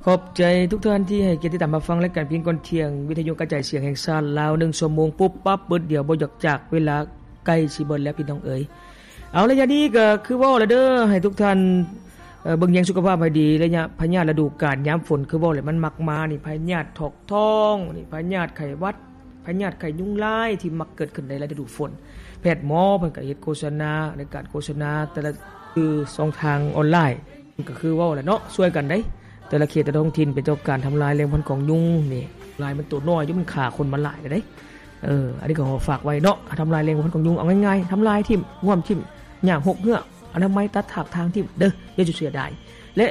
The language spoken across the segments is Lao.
ຂອບໃຈທຸກທ່ານທີ່ໃຫ້ກຽດຕິດຕາມຮັບຟັງລາຍການພຽງກ່ອນທ່ຽງ ວິທະຍຸກະຈາຍສຽງແຫ່ງຊາດລາວ ໜຶ່ງຊົ່ວໂມງປຸບປັບປຶດດຽວ ບໍ່ຢາກຈາກເວລາໃກ້ຊິເບິດແລ້ວພີ່ນ້ອງເອີຍ. ເອົາ ໄລຍະນີ້ກໍຄືເວົ້າແລ້ວເດີ ໃຫ້ທຸກທ່ານ ເອີ ເບິ່ງແຍງສຸຂະພາບໃຫ້ດີ ໄລຍະພະຍາດລະດູການຍາມຝົນ ຄືເວົ້າແຫຼະ ມັນມັກມານີ້ ພະຍາດຖອກທ້ອງນີ້ ພະຍາດໄຂ້ຫວັດ ພະຍາດໄຂ້ຍຸງລາຍທີ່ມັກເກີດຂຶ້ນໃນລະດູຝົນ. ແພດໝໍເພິ່ນກໍເຮັດໂຄສະນາ ໃນການໂຄສະນາແຕ່ລະ ຄືຊ່ອງທາງອອນລາຍ ກໍຄືເວົ້າແຫຼະເນາະ ຊ່ວຍກັນເດ້ ແຕ່ລະເຂດແຕ່ລະທ້ອງຖິ່ນເປັນເຈົ້າການທຳລາຍແຫຼ່ງພັນຂອງຍຸງນີ້ ລາຍມັນໂຕນ້ອຍຢູ່ ມັນຂ້າຄົນມາຫຼາຍແລ້ວເດ້. ເອີ ອັນນີ້ກໍຂໍຝາກໄວ້ເນາະ ທຳລາຍແຫຼ່ງພັນຂອງຍຸງ ເອົາງ່າຍໆ ທຳລາຍຖິ້ມ ງວມຖິ້ມ ຫຍ້າຫົກເຫືອ ອະນາໄມ ຕັດຖາກທາງຖິ້ມເດີ ຢ່າເສຍດາຍ. ແລະ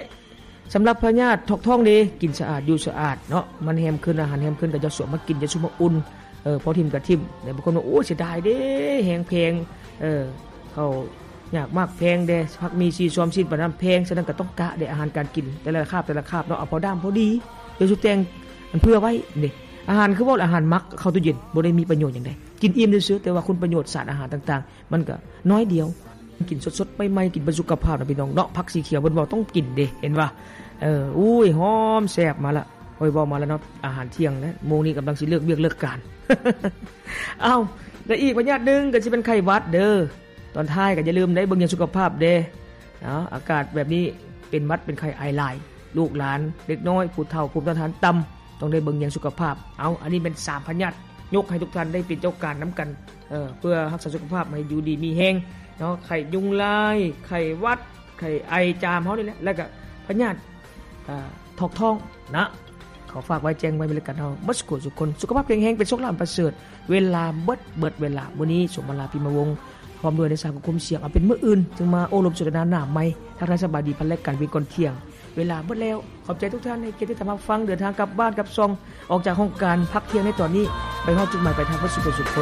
ສຳລັບພະຍາດຖອກທ້ອງເດ ກິນສະອາດ ຢູ່ສະອາດເນາະ ມັນແຮມຂຶ້ນ ອາຫານແຮມຂຶ້ນ ກໍຢ່າສວມມາກິນ ຢ່າຊຸມມາອຸ່ນ ເອີ ພໍຖິ້ມກໍຖິ້ມ. ແຕ່ບາງຄົນວ່າ ໂອ້ ເສຍດາຍເດ້ ແຮງແພງ ເອີ ເຂົ້າຍາກໝາກແພງເດ້ ຜັກໝີ່ສີ່ຊອມຊີ້ນປານນັ້ນແພງ ສະນັ້ນກໍຕ້ອງກະເດ້ ອາຫານການກິນ ແຕ່ລະຄາບ ແຕ່ລະຄາບເນາະ ເອົາພໍດາມພໍດີ ຢ່າຊຸແຕ່ງ ອັນເຜື່ອໄວ້ເດ້. ອາຫານຄືເວົ້າ ອາຫານໝັກ ເຂົ້າຕູ້ເຢັນ ບໍ່ໄດ້ມີປະໂຫຍດຫຍັງໃດ ກິນອີ່ມຊື່ໆ ແຕ່ວ່າຄຸນປະໂຫຍດສານອາຫານຕ່າງໆ ມັນກໍນ້ອຍດຽວ ກິນສົດໆ ໃໝ່ໆ ກິນເພື່ອສຸຂະພາບນະພີ່ນ້ອງເນາະ. ຜັກສີຂຽວເພິ່ນເວົ້າຕ້ອງກິນເດ້ ເຫັນວ່າ ເອີ ອຸ້ຍ ຫອມແຊບມາລະ ໂອ້ຍ ເວົ້າມາລະເນາະ ອາຫານທ່ຽງນະ ໂມງນີ້ກຳລັງຊິເລີກວຽກເລີກການ. ເອົ້າ ແລະ ອີກພະຍາດໜຶ່ງກໍຊິເປັນໄຂ້ຫວັດເດີ ຕອນທ້າຍກໍຢ່າລືມເດ້ ເບິ່ງແຍງສຸຂະພາບເດ້ເນາະ. ອາກາດແບບນີ້ເປັນຫວັດເປັນໄຂ້ ໄອຫຼາຍ ລູກຫຼານ ເດັກນ້ອຍ ຜູ້ເຖົ້າ ພູມຕ້ານທານຕ່ຳ ຕ້ອງໄດ້ເບິ່ງແຍງສຸຂະພາບ. ເອົາ ອັນນີ້ແມ່ນສາມພະຍາດ ຍົກໃຫ້ທຸກທ່ານໄດ້ເປັນເຈົ້າການນຳກັນ ເອີ ເພື່ອຮັກສາສຸຂະພາບໃຫ້ຢູ່ດີມີແຮງເນາະ. ໄຂ້ຍຸງລາຍ ໄຂ້ຫວັດ ໄຂ້ໄອ ຈາມເຮົານີ້ແຫຼະ ແລ້ວກະພະຍາດ ເອີ ຖອກທ້ອງນະ ຂໍຝາກໄວ້ແຈ້ງໄວ້ໃນລາຍການເຮົາໝົດສູ່ຄົນ ສຸຂະພາບແຂງແຮງ ເປັນໂຊກລາບອັນປະເສີດ. ເວລາເບິດ ເບິດເວລາ ມື້ນີ້ ສົມມາລາ ພິມມະວົງ ພ້ອມດ້ວຍນາຍຊ່າງຄວບຄຸມສຽງ ເອົາເປັນມື້ອື່ນຈຶ່ງມາໂອ້ລົມສົນທະນາໜ້າໃໝ່. ທັກທາຍສະບາຍດີ ພັນລາຍການວຽງກ່ອນທ່ຽງ ເວລາເບິດແລ້ວ. ຂອບໃຈທຸກທ່ານໃຫ້ກຽດຕິດຕາມຮັບຟັງ ເດີນທາງກັບບ້ານກັບຊ່ອງ ອອກຈາກຫ້ອງການພັກທ່ຽງໃນຕອນນີ້ ໄປຮອດຈຸດໝາຍປາຍທາງເບິດສູ່ຄົນ.